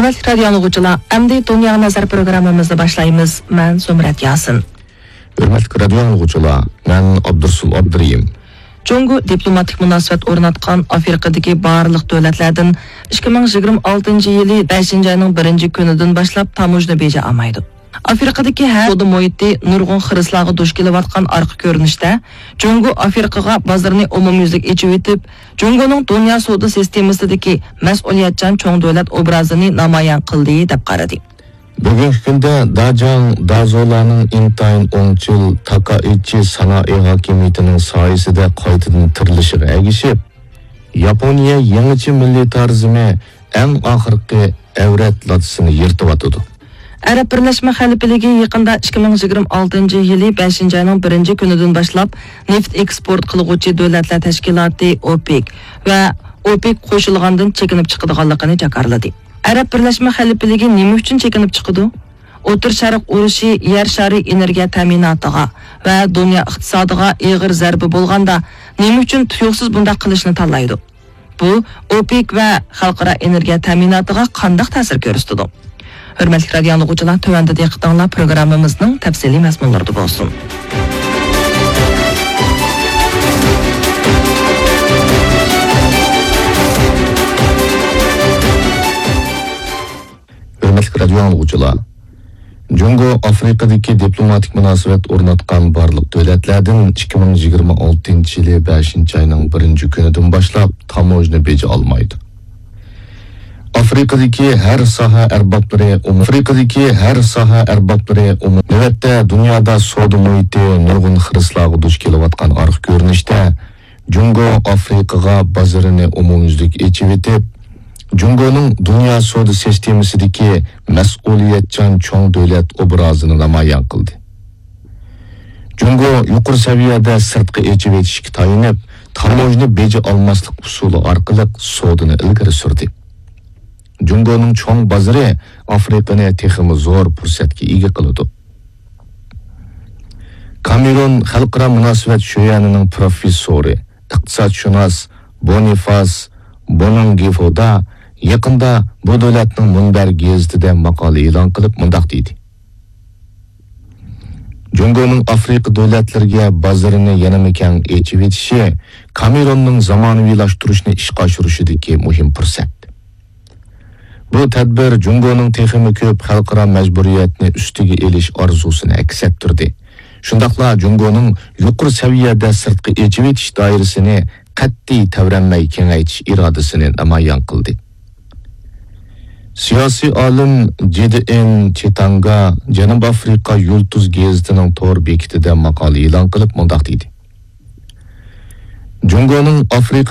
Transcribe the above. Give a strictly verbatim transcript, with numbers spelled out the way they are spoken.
ھۆرمەتلىك رادىيو ئاڭلىغۇچىلار، ئەمدى دۇنياغا نەزەر پروگراممىمىزنى باشلايمىز. مەن زۇمرەت ياسىن. ھۆرمەتلىك رادىيو ئاڭلىغۇچىلار، مەن ئابدۇرسۇل ئابدۇرېھىم. جۇڭگو دىپلوماتىك مۇناسىۋەت ئورناتقان ئافرىقىدىكى بارلىق دۆلەتلەردىن ئىككى مىڭ يىگىرمە ئالتىنچى يىلى بەشىنچى ئاينىڭ بىرىنچى كۈنىدىن باشلاپ تاموژنا بېجى ئالمايدۇ. ئافرىقىدىكى ھەر سودا مۇھىتى نۇرغۇن خىرىسلارغا دۇچ كېلىۋاتقان ئارقا كۆرۈنۈشتە، جۇڭگو ئافرىقىغا بازىرىنى ئومۇميۈزلۈك ئېچىۋېتىپ، جۇڭگونىڭ دۇنيا سودا سىستېمىسىدىكى مەسئۇلىيەتچان چوڭ دۆلەت ئوبرازىنى نامايان قىلدى، دەپ قارىدى. بۈگۈنكى كۈندە داجاڭ دازولارنىڭ ئىنتايىن ئوڭچىل تاكائىچى سانائەت ھاكىمىيىتىنىڭ سايىسىدە قايتىدىن تىرىلىشىغا ئەگىشىپ، ياپونىيە يېڭىچە مىللىتارىزمى ئەڭ ئاخىرقى ئەۋرەت لاتىسىنى يىرتىۋاتىدۇ. ئەرەب بىرلەشمە خەلىپىلىكى يېقىندا ئىككى مىڭ يىگىرمە ئالتىنچى يىلى بەشىنچى ئاينىڭ بىرىنچى كۈنىدىن باشلاپ نېفىت ئېكسپورت قىلغۇچى دۆلەتلەر تەشكىلاتى ئوپېك ۋە ئوپېك قوشۇلغاندىن چېكىنىپ چىقىدىغانلىقىنى جاكارلىدى. ئەرەب بىرلەشمە خەلىپىلىكى نېمە ئۈچۈن چېكىنىپ چىقىدۇ؟ ئوتتۇرا شەرق ئۇرۇشى يەر شارى ئېنېرگىيە تەمىناتىغا ۋە دۇنيا ئىقتىسادىغا ئېغىر زەربە بولغاندا، نېمە ئۈچۈن تۇيۇقسىز بۇنداق قىلىشنى تاللايدۇ؟ بۇ ئوپېك ۋە خەلقئارا ئېنېرگىيە تەمىناتىغا قانداق تەسىر كۆرسىتىدۇ؟ ھۆرمەتلىك رادىيو ئاڭلىغۇچىلار، تۆۋەندە دىققىتىڭلار پروگراممىمىزنىڭ تەپسىلىي مەزمۇنلىرىدا بولسۇن. ھۆرمەتلىك رادىيو ئاڭلىغۇچىلار، جۇڭگو ئافرىقىدىكى دىپلوماتىك مۇناسىۋەت ئورناتقان بارلىق دۆلەتلەردىن ئىككى مىڭ يىگىرمە ئالتىنچى يىلى بەشىنچى ئاينىڭ بىرىنچى كۈنىدىن باشلاپ تاموژنا بېجى ئالمايدۇ. ئافرىقىدىكى ھەر ساھە ئەربابلىرى ئومۇم-، ئافرىقىدىكى ھەر ساھە ئەربابلىرى ئومۇم-، نۆۋەتتە دۇنيادا سودا مۇھىتى نۇرغۇن خىرىسلارغا دۇچ كېلىۋاتقان ئارقا كۆرۈنۈشتە، جۇڭگو ئافرىقىغا بازىرىنى ئومۇميۈزلۈك ئېچىۋېتىپ، جۇڭگونىڭ دۇنيا سودا سىستېمىسىدىكى مەسئۇلىيەتچان چوڭ دۆلەت ئوبرازىنى نامايان قىلدى. جۇڭگو يۇقىرى سەۋىيەدە سىرتقا ئېچىۋېتىشكە تايىنىپ، تاموژنا بېجى ئالماسلىق ئۇسۇلى ئارقىلىق سودىنى ئىلگىرى سۈردى. جۇڭگونىڭ چوڭ بازىرى ئافرىقىنى تېخىمۇ زور پۇرسەتكە ئىگە قىلىدۇ. كامېرون خەلقئارا مۇناسىۋەت شۆيەنىنىڭ پروفېسسورى، ئىقتىسادشۇناس بونىفاس بونانگىفودا يېقىندا بۇ دۆلەتنىڭ مۇنبەر گېزىتىدە ماقالە ئېلان قىلىپ مۇنداق دېدى: جۇڭگونىڭ ئافرىقا دۆلەتلىرىگە بازىرىنى يەنىمۇ كەڭ ئېچىۋېتىشى كامېروننىڭ زامانىۋىلاشتۇرۇشنى ئىشقا ئاشۇرۇشىدىكى مۇھىم پۇرسەت. بۇ تەدبىر جۇڭگونىڭ تېخىمۇ كۆپ خەلقئارا مەجبۇرىيەتنى ئۈستىگە ئېلىش ئارزۇسىنى ئەكس ئەتتۈردى. شۇنداقلا جۇڭگونىڭ يۇقىرى سەۋىيەدە سىرتقا ئېچىۋېتىش دائىرىسىنى قەتئىي تەۋرەنمەي كېڭەيتىش ئىرادىسىنى نامايان قىلدى. سىياسىي ئالىم جىدېئېن چېتاڭگا جەنۇبىي ئافرىقا يۇلتۇز گېزىتىنىڭ تور بېكىتىدە ماقالە ئېلان قىلىپ مۇنداق دېدى: جۇڭگونىڭ ئافرىقىدا